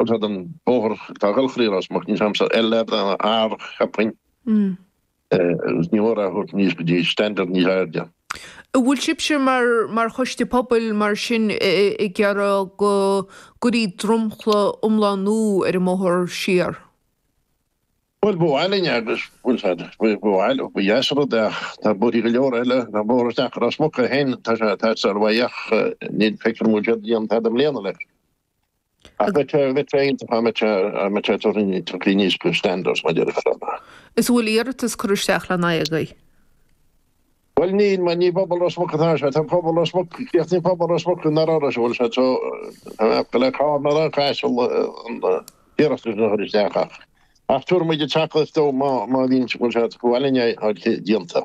Bhuel tá an bóthar atá ag dul thrí Ros Muc, níl 's a'msa L nó R cheapfainn. Agus ní mór é a thabhairt aníos go dtí standard níos airde. An bhfuil sibhse mar mar choiste pobail mar sin ag iarraidh go gcuirfí dromchla iomlán nua ar an mbóthar siar? Bhuel, ba mhaith linn agus, bhuel, ba mhaith, ba dheas an rud é ach tá bóithre go leor eile, tá bóthar isteach go Ros Muc é féin, tá sé ag teastáil uaidh ach ní feictear dom go bhfuil siad ag déanamh tada i mbliana leis. Ach bheadh sé, bheadh sé iontach dá mbeadh sé, dá mbeadh sé tugtha, tugtha aníos go standards mar a déarfá. Is an bhfuil iarratas curtha isteach lena aghaidh agaibh? Bhuel níl, mar ní i bpobal Ros Muc atá sé, tá pobal Ros Muc, críochnaíonn pobal Ros Muc in Ard bhfuil sé so, tá mé ag le Carna ná Caiseal an iarratas a chur isteach ach ach tabharfaidh muid an tacaíocht dó má má bhíonn bhfuil sé ba mhaith linn é a fháil déanta.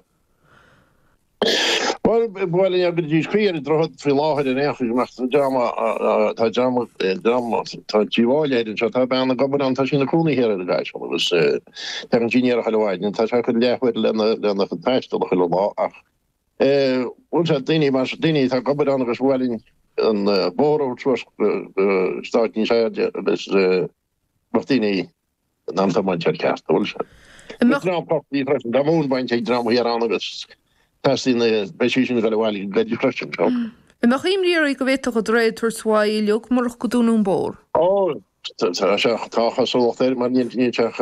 Bhuel ba mhaith linn é go dtí caoi ar an droichead faoi láthair ar aon chaoi go mbeadh tá dream tá dream dream tá díobháil air anseo tá bean ag obair ann tá sí ina cónaí thiar ar an gCaiseal agus Tagann sí aniar chuile mhaidin, tá sé ag cur leathuair lena lena chuid taistil chuile lá ach bhuel sea, daoine mar daoine atá ag obair ann agus ba mhaith linn an bóthar a thabhairt suas go stáit níos airde agus bheadh daoine in ann tiomáint air ceart, bhuel sea. Tá dream portaigh freisin, tá móin bainte ag dream thiar ann agus teastaíonn, beidh sí sin ag dul abhaile go gairid freisin. So. An mbeadh imní oraibh go bhféadfadh an droichead tabhairt uaidh uilig murach go dúnadh an bóthar? Ó, Tá sé, tá cosúlacht air mar níl sé ach,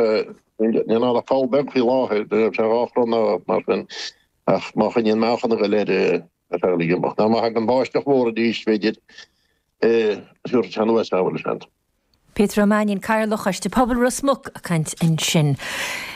níl ann ach poll beag faoi láthair, níl sé dhá chrann ná mar sin ach má choinníonn meáchan ag dul air ar feadh uilig amach. Nó má thagann báisteach mhór arís b'fhéidir, tabharfaidh sé anuas é, bhuel seans. Peter Ó Mainnín, Cathaoirleach Choiste Pobail Ros Muc ag caint ansin.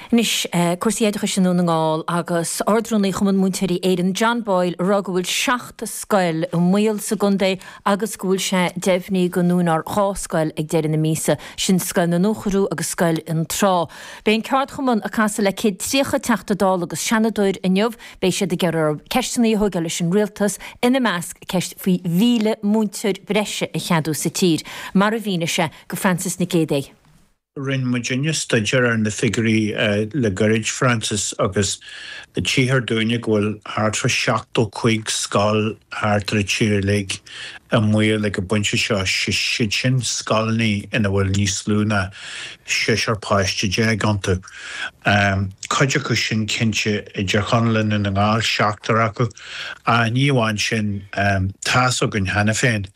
Anois, cúrsaí oideachais i nDún na nGall agus Ard-Rúnaí Chumann Múinteoirí Éireann, John Boyle, ag rá go bhfuil 7 scoil i mbaol sa gcontae agus go bhfuil sé deimhnithe go ndúnfar 2 scoil ag deireadh na míosa, sin Scoil na nDúchoradh agus Scoil an Trá. Beidh an ceardchumann ag casadh le 130 Teachta Dála agus Seanadóir inniu. Beidh siad ag iarraidh orthu ceisteanna a thógáil leis an Rialtas, ina measc ceist faoi 1,000 múinteoir breise a cheadú sa tír, mar a mhínigh sé go Frances Nic Géadaigh. Rinne muidinne staidéar ar na figiúirí le gairid, Frances, agus tchíthear dúinne go bhfuil thart fá 75 scoil thart ar an tír uilig i mbaol ag an bpointe seo, siad sin scoileanna ina bhfuil níos lú ná seisear páiste déag iontu. Cuid acu sin cinnte i dTír Chonaill i nDún na nGall, seachtar acu, ach ní amháin sin, tá's againn cheana féin,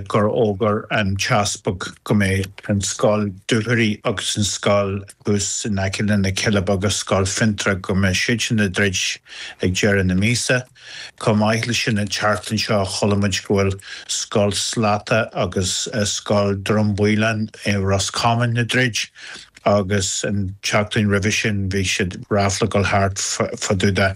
gur fhógair an tEaspag go mbeidh an scoil Dúchoraidh agus an scoil thuas in aice le na Cealla Beaga, Scoil Fionntrá, go mbeidh siad sin ag druid ag deireadh na míosa. Chomh maith leis sin an tseachtain seo chuala muid go bhfuil Scoil Slatta agus Scoil Droim Baoláin i Ros Comáin ag druid. agus an tseachtain roimhe sin bhí siad ráfla ag dul thart fá dtaobh de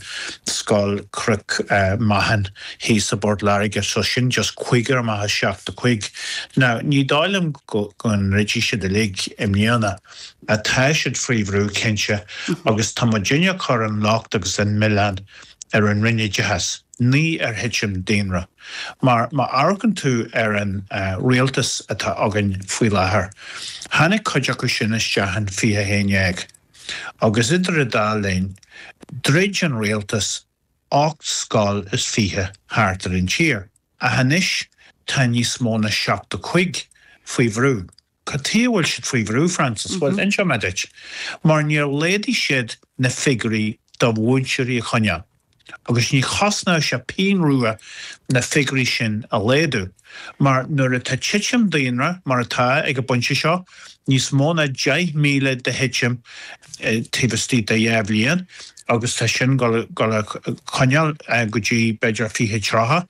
Scoil Chnoc Meáchan thíos i bPort Láirge, so sin just cúigear amach as 75. Now ní dóigh liom go ndruidfidh siad uilig i mbliana, tá siad faoi bhrú cinnte agus tá muidinne ag cur an locht agus an milleán ar an Roinn Oideachais, ní ar thitim daonra. Mar má amharcann tú ar an rialtas atá againn faoi láthair, tháinig cuid acu sin isteach in 2011 agus idir an dá linn, dhruid an rialtas 8 scoil is 20 thart ar an tír. Ach anois tá níos mó ná 75 faoi bhrú. Cad chuige a bhfuil siad faoi bhrú, Frances? Bhuel, inseoidh mé duit. Mar níor laghdaigh siad na figiúirí do mhúinteoirí a choinneáil. Agus ní chosnódh sé pingin rua na figiúirí sin a laghdú. Mar nuair atá titim daonra, mar atá ag an bpointe seo, níos mó ná 10,000 de thitim taobh istigh de dhá bhliain, agus tá sin ag dul a choinneáil go dtí b'fhéidir 2030,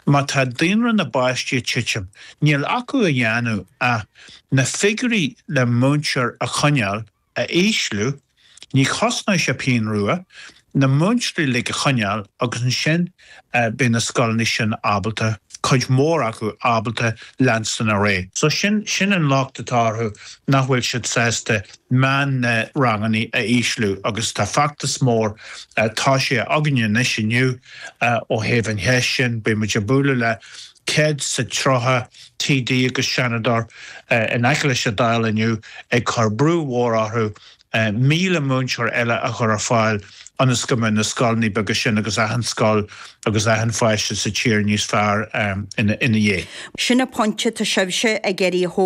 má tá daonra na bpáistí ag titim, Níl acu a dhéanamh ach na figiúirí le múinteoir a choinneáil a ísliú, ní chosnóidh sé pingin rua, na múinteoirí uilig a choinneáil agus ansin beidh na scoileanna sin ábalta, cuid mhór acu, ábalta leanstan ar aghaidh. So sin, sin an locht atá orthu, nach bhfuil siad sásta meán na ranganna a ísliú agus tá feachtas mór tosaithe againne anois inniu ó thaobh an cheist sin, beidh muid ag bualadh le 130 TD agus Seanadóir in aice leis an Dáil inniu ag cur brú mhór orthu 1,000 múinteoir eile a chur ar fáil ionas go mbeidh na scoileanna beaga sin agus achan scoil agus achan pháiste sa tír níos fearr ina dhiaidh. Sin an pointe atá sibhse ag iarraidh a thógáil.